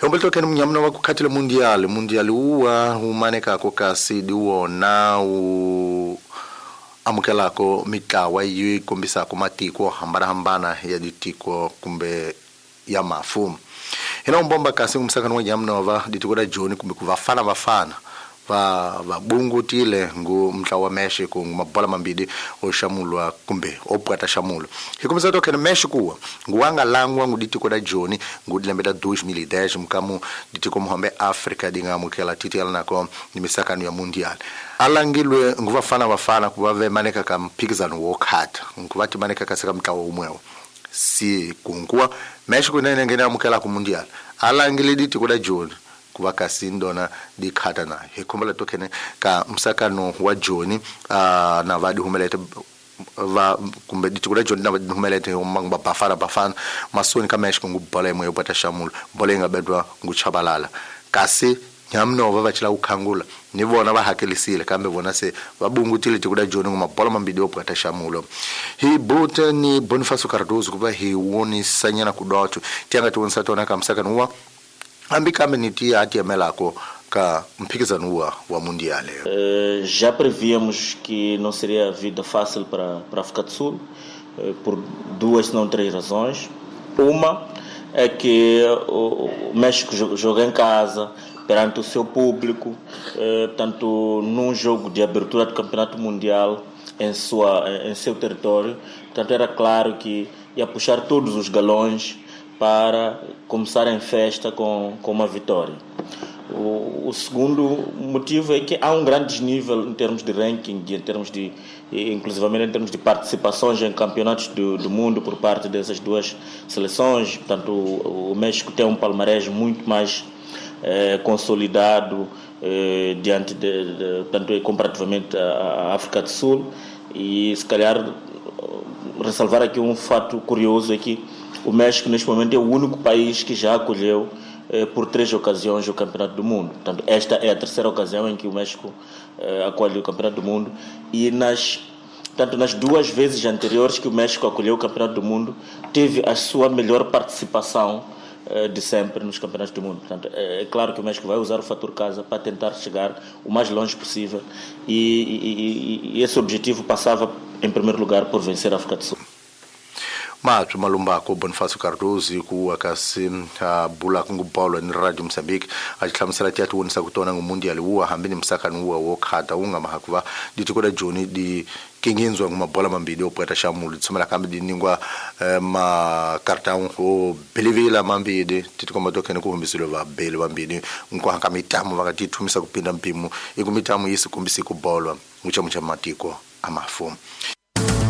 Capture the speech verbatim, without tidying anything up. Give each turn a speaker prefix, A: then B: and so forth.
A: Humberto kene munyamuna wa kukhatile mundial mundial uwa umanekako kasi di wona u amukelako mitlawa yi kombisako matiko hambanahambana ya ditiko kumbe ya mafu. Hina umbomba kasi umsakano wa nyamnova ditiko da Joni kumbe kuvafana vafana va vabungutile ngu mtlawa wa Mexico ngu mabola mambili oxamulwa kumbe opwata xamulo. Hikumisa to kene Mexico nguwanga langwa ngu ditiko da Joni ngu dilembe da dois mil e dez mkamu ditiko muhambe Africa dinga amukela titiala nako ni misakano ya mundial. Alangilwe ngu vafana vafana kuva vemaneka ka mphikizano wo khata ngu vati maneka kasi ka mtlawa umwewo. Si kunkuwa Mexico nene ngene amukela ku mundial. Alangile ditiko da Joni kuva kasi ndona dikhata na hikumbela tokene ka msakano wa Joni uh, na vadi humelete va kumbe ditiko da Joni na vadi humelete mangba bafana bafana masoni ka Mexico ngubola imwe yopata xamulo bola ingabedwa nguchabalala kasi nyamnova vachila ukhangula ni vona va hakelisile kambe vona se va bungutile tiko da Joni ngumabola mambili yopata xamulo. Hi bute ni Bonifacio Cardoso kuva hi wonisanyana kudoto tianga tiwonisa tona ka msakano wa hambi kambe ni tia atiemelako ka mphikizano wa wa mundial.
B: Uh, já prevíamos que não seria vida fácil para para a África do Sul, uh, por duas, se não três razões. Uma é que o, o México joga em casa, perante o seu público, uh, portanto, num jogo de abertura do Campeonato Mundial em sua em seu território, portanto, era claro que ia puxar todos os galões para começar em festa com, com uma vitória. O, o segundo motivo é que há um grande desnível em termos de ranking, em termos de, inclusivamente em termos de participações em campeonatos do, do mundo por parte dessas duas seleções. Portanto, o, o México tem um palmarés muito mais eh, consolidado eh, diante de, de, portanto, comparativamente à, à África do Sul. E se calhar ressalvar aqui um fato curioso é que o México, neste momento, é o único país que já acolheu eh, por três ocasiões o Campeonato do Mundo. Portanto, esta é a terceira ocasião em que o México eh, acolhe o Campeonato do Mundo. E nas, portanto, nas duas vezes anteriores que o México acolheu o Campeonato do Mundo, teve a sua melhor participação eh, de sempre nos Campeonatos do Mundo. Portanto, é, é claro que o México vai usar o fator casa para tentar chegar o mais longe possível. E, e, e esse objetivo passava, em primeiro lugar, por vencer a África do Sul.
A: Mathu Malumbako Bonifacio Cardoso ku akasi bula kungu bolo ni Radio Mozambique a hlamusela tiati wonisa ku tona ngu mundial wa hambi ni msakano wa wo khata unga mahakuva ditiko da Joni di kinginzwa ngumabola mambili opweta xamulu tsumela kambe di ningwa ma cartão o belivila mambili titikomba tokene ku humbisilo va beli vambili nkwanga mitamu vakati thumisa kupinda mpimo iku mitamu yisi kumbisi ku bolwa mucha mucha matiko amafu.